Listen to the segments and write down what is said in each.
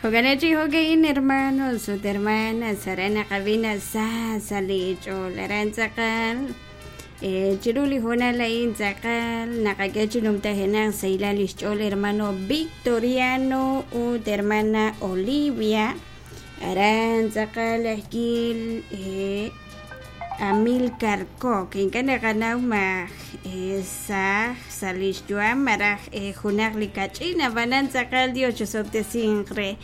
Jo'kan chi jo'ka'in hermanos ut hermanas aran naqab'i sa sa' li ch'ool aran tz'aqal chiru li hoonal a'in tz'aqal naqak'e chi numtajenaq sahilal lix ch'ool hermano Victoriano ut hermana Olivia aran tz'aqal ajkil Amilcar Koc ink'a' naqanaw ma saaj sa' lix yu'am malaj junaq li kach'in ab'anan tz'aqal Dios chosob'tesinq re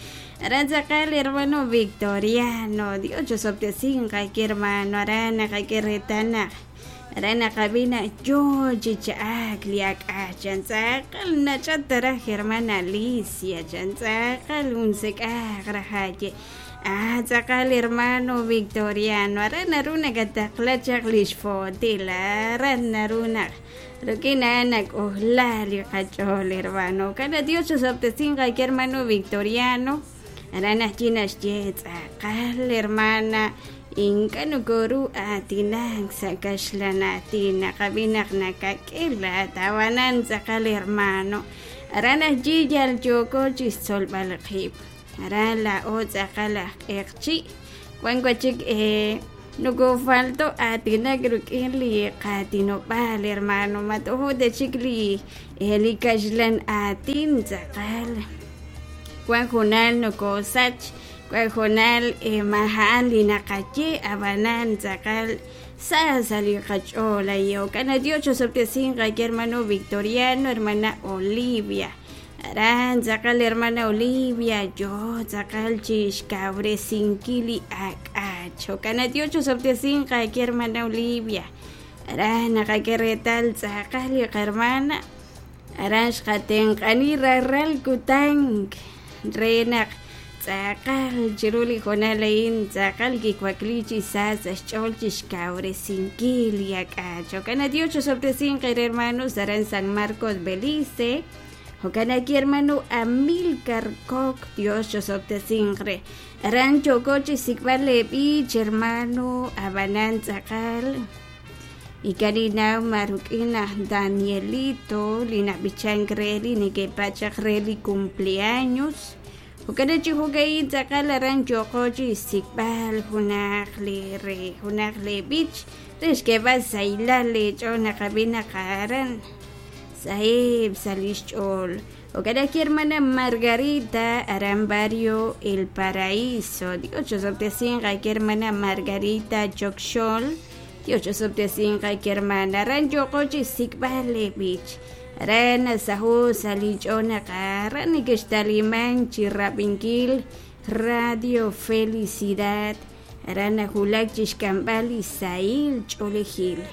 aran tz'aqal hermano Victoriano Dios chosob'tesinq aki hermano aran naqak'e reetal naq aran naqab'i naq yoo chi cha'ak li ak'aj chan tz'aqal nach'at raj hermana Alicia chan tz'aqal unsek'aq raj aye ah tz'aqal hermano Victoriano aran naru nakataqla chaq lix footil aran naru naq rik'in a'an nak'ojla li qach'ool hermano kana Dios chosob'tesinq aki hermano Victoriano aran ajwi' naxye tz'aqal hermana ink'a' nokoru aatinak sa' kaxlan aatin naqab'i naq nakak'e laat ab'anan tz'aqal hermano aran ajwi' yal yooko chixtzolb'al qib' aran laa'o tz'aqal aj q'eqchi' wan wachik nokofalto aatinak rik'in li qaatinob'aal hermano matojo ta chik li kaxlan aatin tz'aqal wan junal nokosach wan junal maja'an li naqaye ab'anan tz'aqal sa sa' li qach'ool ayo kana Dios chosob'tesinq aki hermano Victoriano hermana Olivia aran tz'aqal hermana Olivia yo tz'aqal chixkawresinkil li ak'ach jo'kan Dios chosob'tesinq aki hermana Olivia aran naqak'e reetal tz'aqal li qarmana aran xqatenq'ani raral kutan re naq tz'aqal chiru li hoonal a'in tz'aqal kiwakli chi sa sa' xch'ool chixkawresinkil li ak'ach jo'kan Dios chosob'tesinq eere hermanos aran San Marcos Belice jo'kan aki hermano Amilcar Koc Dios chosob'tesinq re aran yooko chixsik'b'al leeb'ich hermano ab'anan tz'aqal ikaninaw ma rik'in aj Danielito li nab'ichank re li neke'pachaq re li cumpleaños jo'kan chi jo'ka'in tz'aqal aran yooko chixsik'b'al junaq li re junaq li b'ich re xk'eeb'al sahilal leech'ool naqab'i naq aran saheb' sa' lix ch'ool jo'kan ajwi' hermana Margarita aran barrio El Paraíso Dios chosob'tesinq aki hermana Margarita Chokxol Dios chosob'tesinq aki hermana aran yooko chixsik'b'al li b'ich aran nasaho sa' li ch'ool naq aran nekextaliman chi rab'inkil Radio Felicidad aran najulak chixk'amb'al li sahil ch'oolejil.